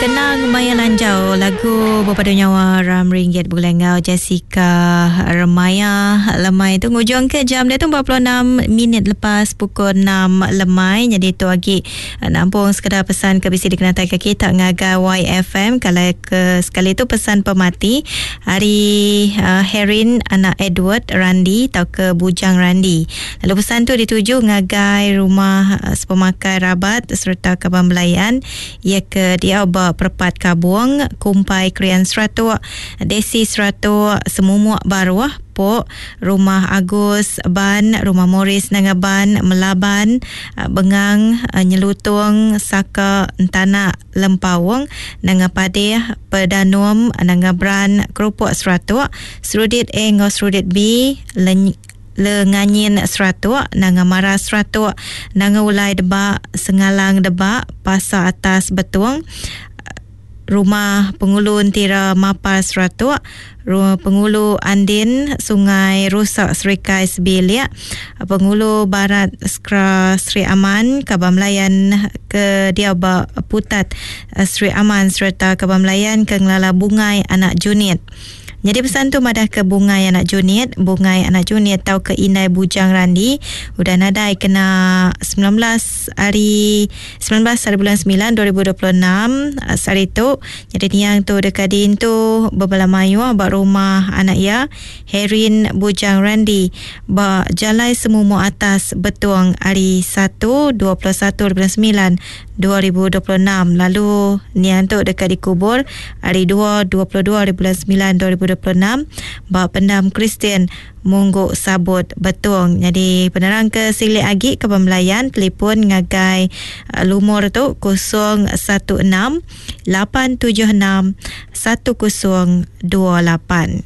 Kenang maya lanjau lagu bepadu nyawa Ram Ringgit begulai enggau Jessica Remaya lemai tu ngujung ke jam dia tu 46 minit lepas pukul 6 lemai jadi tu agi nampung sekeda pesan ke bisi dikenatai ke kita ngagai YFM kalau ke sekali tu pesan pemati ari uh, Herin anak Edward Randi tau ke Bujang Randi lalu pesan tu dituju ngagai rumah uh, sepemakai rabat sereta kaban belayan Iya ke diau ba Perepat Kabung, Kumpai Krian Seratuk, Desi Seratuk, Semumuk Baruh, Pok, Rumah Agus Ban, Rumah Morris Nanga Ban, Melaban, Bengang, Nyelutung, Saka, Entanak, Lempaung, Nanga Padeh, Pedanum, Nanga Bran, Kerupuk Seratuk, Serudit A enggau Serudit B, Leny. Lenganyin Seratuk, Nanga Maras Seratuk, Nanga Ulai Debak, Sengalang Debak, Pasar Atas Betong, Rumah Pengulu Entira Mapar Seratuk, Rumah Pengulu Andin Sungai Rusak Serikai Sebilik, Pengulu Barat Skra Sri Aman, Kaban Melayan ke diau ba Putat Sri Aman sereta Kaban Melayan ke ngelala Bungai Anak Junit. Nyadi pesan tu madahka Bungai anak Junit, Bungai anak Junit tauka Indai Bujang Randi udah nadai kena 19 hari 19 hari bulan 9 2026 sehari tu. Nyadi niang tu deka diintu bebala mayuh ba rumah anak iya Herin Bujang Randi ba Jalai Semumuk Atas Betong hari 1 21 hari bulan 9 2026 lalu niang tu deka dikubur hari 2 22 hari bulan 9 2026 ba Pendam Kristian Munggu Sabut Betong. Nyadi penerang ke silik agi ke pembelayan telefon ngagai lumur tu 016 876 1028.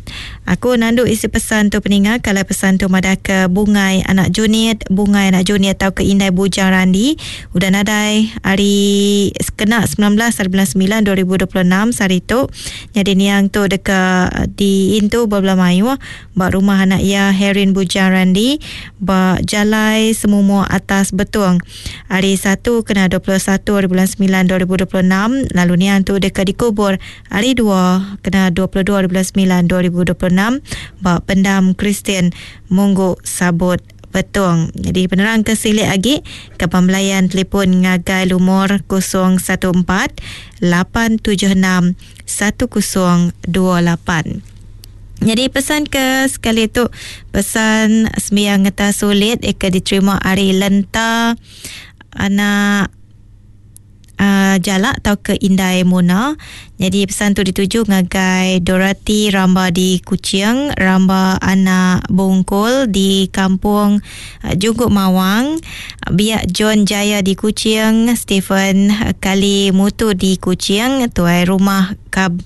Aku nandu isi pesan tu peninga kalai pesan tu madah ke Bungai anak Junit, Bungai anak Junit tauka Indai Bujang Randi udah nadai hari kena 19 hari bulan 9 2026 sehari tu. Nyadi niang tu deka diintu bebela mayuh ba rumah anak iya Herin Bujang Randi ba Jalai Semumuk Atas Betong hari 1 kena 21 hari bulan 9 2026 lalu niang tu deka dikubur hari 2 kena 22 hari bulan 9 2026 ba Pendam Kristian Munggu Sabut Betong. Jadi penerang ke silik agi ke pembelayan telefon ngagai lumur 014 876 1028. Jadi pesan ke sekali tu pesan sembiang ngeta sulit ke diterima ari Lenta anak uh, Jalak tau ke Indai Muna. Jadi pesan tu dituju ngagai Dorothy Ramba di Kuching, Ramba anak Bungkul di Kampung uh, Jungguk Mawang, Biak John Jaya di Kuching, Stephen Kali Mutu di Kuching, Tuai Rumah Kab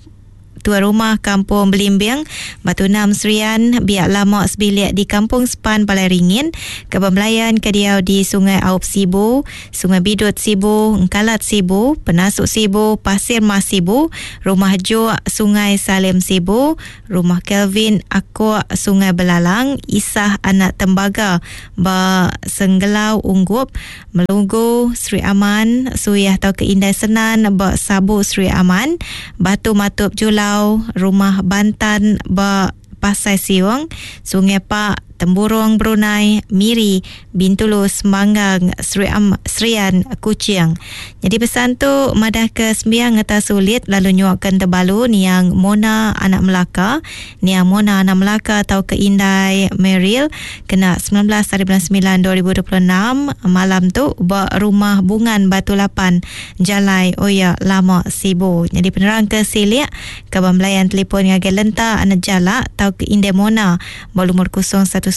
Tuai Rumah Kampung Belimbing, Batu Enam Serian, Biak Lama Sebilik di Kampung Sepan Balai Ringin, Kebun Belayan ke diau di Sungai Aup Sibu, Sungai Bidut Sibu, Engkalat Sibu, Penasuk Sibu, Pasir Mas Sibu, Rumah Juk, Sungai Salim Sibu, Rumah Kelvin Akok, Sungai Belalang, Isah Anak Tembaga ba Senggelau Unggup, Melugu, Sri Aman, Suyah tauka Indai Senan ba Sabu Sri Aman, Batu Matup Julau, Rumah Bantan ba Pasai Siung, Sungai Pak, Temburong Brunei, Miri, Bintulu, Semanggang, Sri Am, Serian, Kuching. Nyadi pesan tu madahka sembiang ngeta sulit lalu nyuaka entebalu niang Mona anak Melaka Niang Mona Anak Melaka tauka Indai Meryl kena 19 hari bulan 9 2026 malam tu ba Rumah Bungan Batu Lapan, Jalai Oya Lama Sibu. Nyadi penerang ke silik, kaban belayan telefon ngagai Lenta Anak Jalak tauka Indai Mona ba lumur 019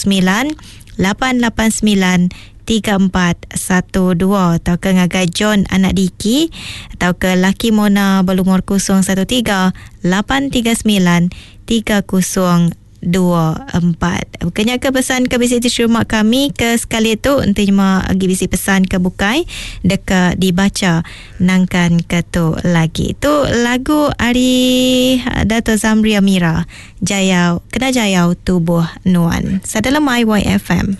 889 3412 tauka ngagai John anak Diki tauka laki Mona belumur 013 839 3024. Bukannya ke pesan ke bisi diterima kami ke sekali tu enti nyema agi bisi pesan ke bukai deka dibaca nangkan ke tu lagi. Tu lagu ari Dato Zamri Amira Jayau kena jayau tubuh nuan. Sada lemai YFM.